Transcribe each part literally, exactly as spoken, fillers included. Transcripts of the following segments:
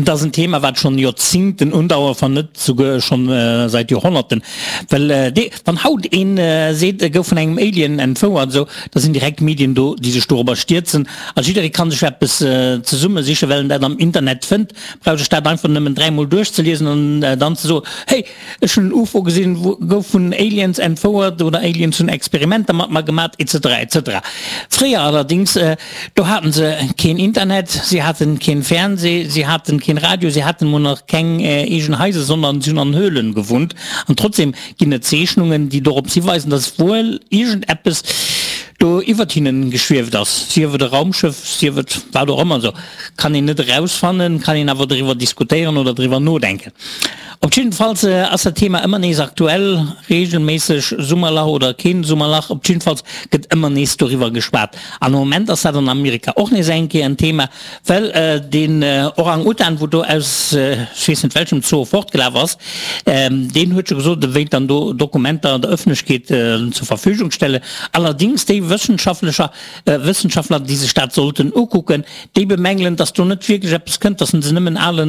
Et ass en Thema, wat schonn Joerzingten undauert, wann net souguer schonn säit Joerhonnerten. Well dee, wann haut een seet, e gouf vun engem Alien entfouert, esou, da sinn direkt d'Medien do, déi sech dorobber stierzen. A jidderee kann sech eppes zesummesichen, well en dat am Internet fënnt. Brauch ech dat einfach nëmmen dräimol duerchzeliesen an dann ze soen, Hey, ech hunn en UFO gesinn, gouf vun Aliens entfouert oder Aliens hunn Experimenter mat mer gemat, etc. Etc. Fréier allerdings, do haten se keen Internet, si haten keen Fernseh, si haten keen Radio, si haten mol nach keng eegen Haiser, sondern si hunn an Höhlen gewunnt. An trotzdem ginn et Zeechnungen, déi dorops hiweisen, dass wuel iergendeppes do iwwert hinnen geschwieft ass, sief et e Raumschëff, sief et wat och ëmmer, esou kann een net erausfannen, kann een awer driwwer diskutéieren oder driwwer nodenken. Op jiddefalls ass dat Thema ëmmer nees aktuell, regelméisseg, Summerlach oder keen Summerlach, op jiddefalls gëtt ëmmer nees doriwwer geschwat. An am Moment ass dat an Amerika och nees eng Kéier en Thema, well deen Orang-Utan, wou do aus ech weess net welchem Zoo fortgelaf ass, deen huet scho gesot, e wéilt dann do Dokumenter der Ëffentlechkeet zur Verfügung stellen. Allerdings déi Wëssenschaftlecher, Wëssenschaftler, déi sech dat sollten ukucken, déi bemängelen, dass do net wierklech eppes kënnt, dass se nëmmen ale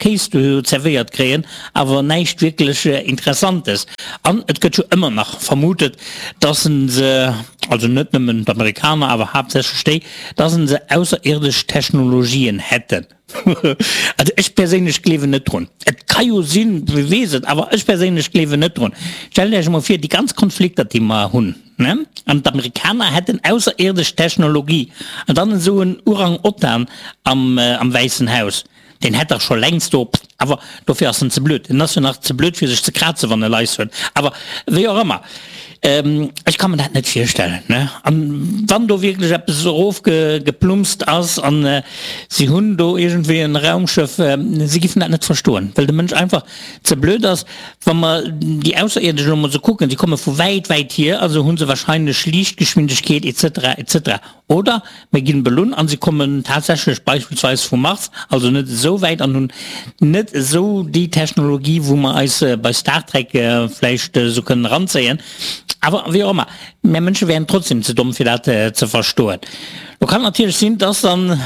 Kéis do zerwéiert kréien, awer näischt wierklech Interessantes. An et gëtt jo ëmmer nach vermutet, dass se, also net nëmmen d'Amerikaner, awer haaptsächlech déi, dass se ausserierdesch Technologien hätten. Also ech perséinlech gleewen net drun. Et ka jo sinn, wie weess et, awer ech perséinlech gleewen net drun. Stellt Iech emol vir, déi ganz Konflikter, déi mer hunn, ne, an d'Amerikaner hätten ausserierdesch Technologie, an dann esou en Orang-Otan am, am Wäissen Haus, deen hätt dach scho längst do, awer dofir ass en ze blöd, en ass jo nach ze blöd fir sech ze krazen, wann e Lais huet, awer wéi och ëmmer. Ech ka mer dat net virstellen. An wann do wierklech eppes erofgeplumpst ass an si hunn do iergendwéi en Raumschëff, si giffen dat net verstoen, well de Mënsch einfach ze blöd ass. Wa mer déi Ausserierdesch elo mol esou kucken, déi komme vu wäit, wäit hier, also hu se wahrscheinlech Liichtgeschwindegkeet et cetera et cetera. Oder mir ginn Ballon an se kommen tatsächlech beispillsweis vum Mars, also net esou wäit an hunn net esou déi Technologie, wou mer eis bei Star Trek vläicht esou kënnen eranzéien. Awer wéi och ëmmer, mär Mënsche wären trotzdem ze domm fir dat ze verstoen. Lo kann et natierlech sinn, dass dann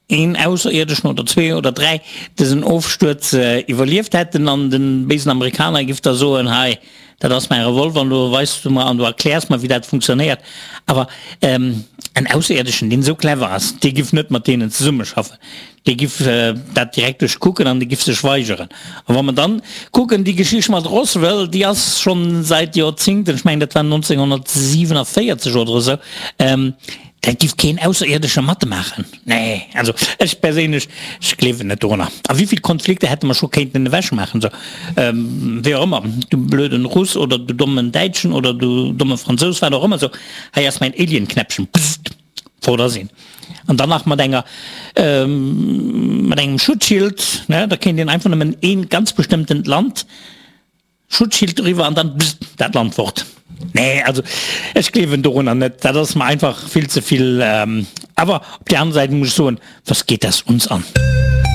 een Ausserierdeschen oder zwee oder dräi dësen Ofstuerz iwwerlieft hätten an de béisen Amerikaner giff da soen, hei, dat ass mäi Revolver an do weis du mer an du erkläers mer, wéi dat funktionéiert. Awer en Ausserierdeschen, deen esou clever ass, dee giff net mat deenen zesummeschaffen. Dee giff dat direkt duerchkucken an dee giff sech weigeren. A wa mer dann kucken, déi Geschicht mat Roswell, déi ass schonn säit Joerzingten, ech mengen dat war nonzénghonnertsiwenavéierzeg oder esou, Dat giff keen Ausserierdesche matmaachen. Nee, also ech perséinlech, ech gleewen net dorunner. A wéivill Konflikter hätte mer scho kéinten ewechmaachen, sou, wéi och ëmmer, du blöden Russ oder du dommen Däitschen oder du domme Fransous, wat och ëmmer, sou, hei ass mäin Alien-Knäppchen, pssst, fort ass een. An dann nach mat enger, mat engem Schutzschild, ne, da kéint een einfach nëmmen ee ganz bestëmmtent Land Schutzschild doriwwer an dann bzzt, dat Land fort. Nee, also ech gleewen dorunner net, dat ass mer einfach vill ze vill. Awer op där aner Säit muss ech soen, was geht das uns an?